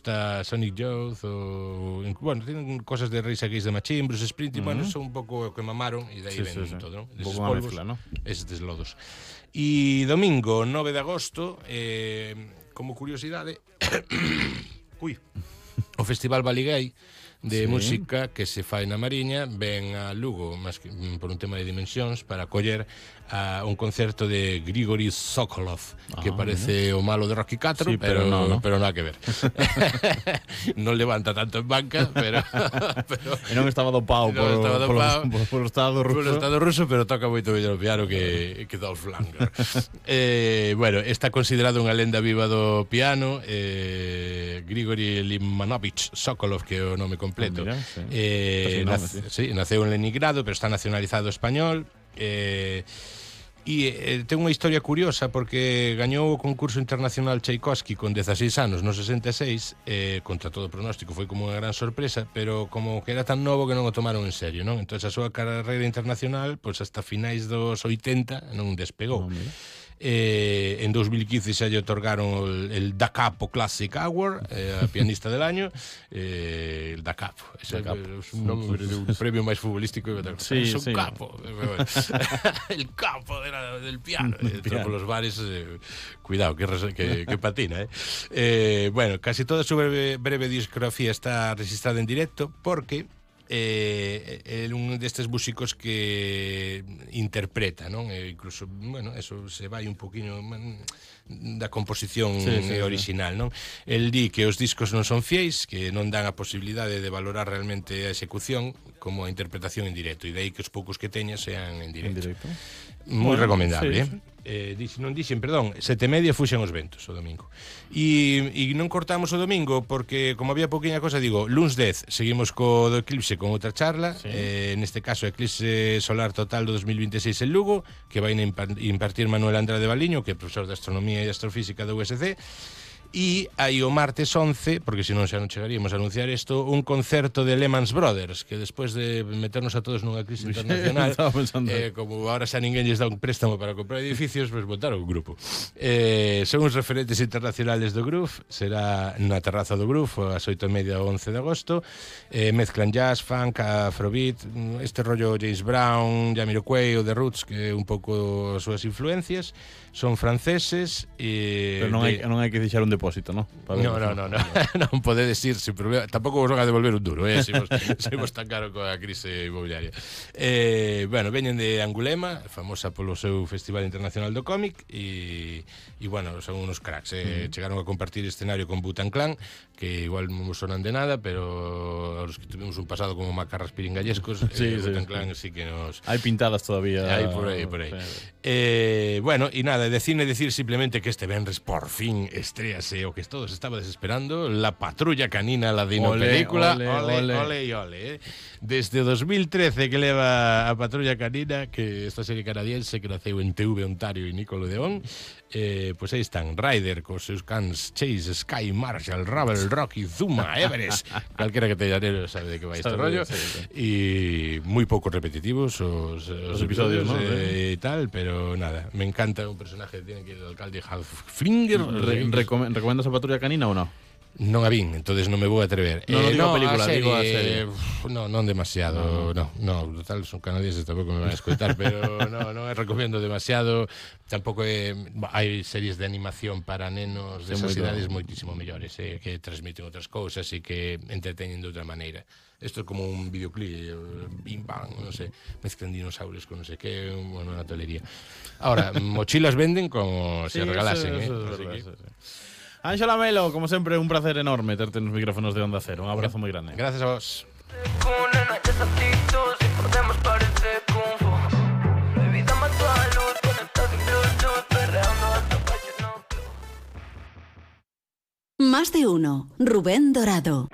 está Sonic Youth bueno, tienen cosas de Rage Against the Machine, Bruce Springsteen, bueno, son un pouco que mamaron e dai ven todo, ¿no? Esos polvos, mezcla, ¿no? Esos lodos. E domingo 9 de agosto, como curiosidade, o Festival Baligay de música que se fai na Mariña ven a Lugo, máis que por un tema de dimensións, para acoller a un concerto de Grigory Sokolov, que parece o malo de Rocky 4, pero nada que ver. Non levanta tanto en banca, pero e non estaba dopado por o Estado ruso. Por o Estado ruso, pero toca moito mellor o piano que Dolph Lundgren. Bueno, está considerado unha lenda viva do piano, Grigory Limanovich Sokolov, que é o nome completo. Naceu en Leningrado, pero está nacionalizado español. Ten unha historia curiosa porque gañou o concurso internacional Tchaikovsky con 16 anos no 66, contra todo pronóstico, foi como unha gran sorpresa, pero como que era tan novo que non o tomaron en serio, non? Entón a súa carreira internacional, pois hasta finais dos 80 non despegou. En 2015 xa lle otorgaron el Da Capo Classic Award, a pianista del año, el Da Capo, es un nombre de un premio máis futbolístico, es un capo, el capo del piano, por los bares, cuidado, que patina, bueno, casi toda su breve discografía está registrada en directo porque é un destes músicos que interpreta, non? Incluso, bueno, eso se vai un poquinho da composición original, non? El di que os discos non son fieis, que non dan a posibilidade de valorar realmente a execución como a interpretación en directo, e de aí que os poucos que teña sean en directo. Moi recomendable, non dixen, perdón, 7:30 fuxen os ventos o domingo. E non cortamos o domingo porque, como había pouquinha cosa, digo, luns 10 seguimos co do Eclipse con outra charla, neste caso Eclipse Solar Total do 2026 en Lugo, que vai impartir Manuel Andrade Valiño, que é profesor de Astronomía e Astrofísica da USC. E aí o martes 11, porque senón xa non chegaríamos a anunciar isto, un concerto de Lehman Brothers, que despois de meternos a todos nunha crise internacional, como ahora xa ninguén lles dá un préstamo para comprar edificios, pues montaron un grupo. Son os referentes internacionales do groove, será na terraza do groove ás 8:30 ao 11 de agosto. Mezclan jazz, funk, afrobeat, este rollo James Brown, Jamiroquai ou The Roots, que é un pouco as súas influencias. Son franceses e... Pero non hai que deixar un depósito, non? Non podedes ir sin problema. Tampouco vos van a devolver un duro, se tan caro coa crise inmobiliaria. Bueno, veñen de Angulema, famosa polo seu Festival Internacional do Cómic, e bueno, son unos cracks. Chegaron a compartir escenario con Wu-Tang Clan, que igual non sonan de nada, pero os que tuvimos un pasado como macarras piringallescos, Wu-Tang Clan sí que nos... Hai pintadas todavía. Hai por aí. Bueno, e nada, de cine decir simplemente que este venres por fin estréase o que todos estabades esperando, La Patrulla Canina, la dino película. Ole. Desde 2013 que leva a Patrulla Canina, que esta serie canadiense que naceu en TV Ontario e Nickelodeon, pois aí están Ryder cos seus cans Chase, Sky, Marshall, Rubble, Rocky, Zuma, Everest, calquera que teña nero sabe de que vai este rollo, e moi pouco repetitivos os episodios, e tal, pero nada, me encanta un personaje que tiene que ir el alcalde Halflinger. ¿Recomendas a Patrulla Canina ou non? Non a vin, entonces non me vou atrever. Non digo a película, digo a serie. Non demasiado, no, total, son canadienses, tampouco me van a escoitar, pero non recomiendo demasiado. Tampouco hai series de animación para nenos de esas idades moitísimo mellores, que transmiten outras cousas e que entreteñen de outra maneira. Isto é como un videoclip, bim bam, non sei, mezclan dinosaurios con non sei que, bueno, unha tolería. Ahora, mochilas venden como se regalasen, Ángela Melo, como sempre, un placer enorme terte nos micrófonos de Onda Cero. Un abrazo moi grande. Gracias a vos. Más de uno. Rubén Dorado.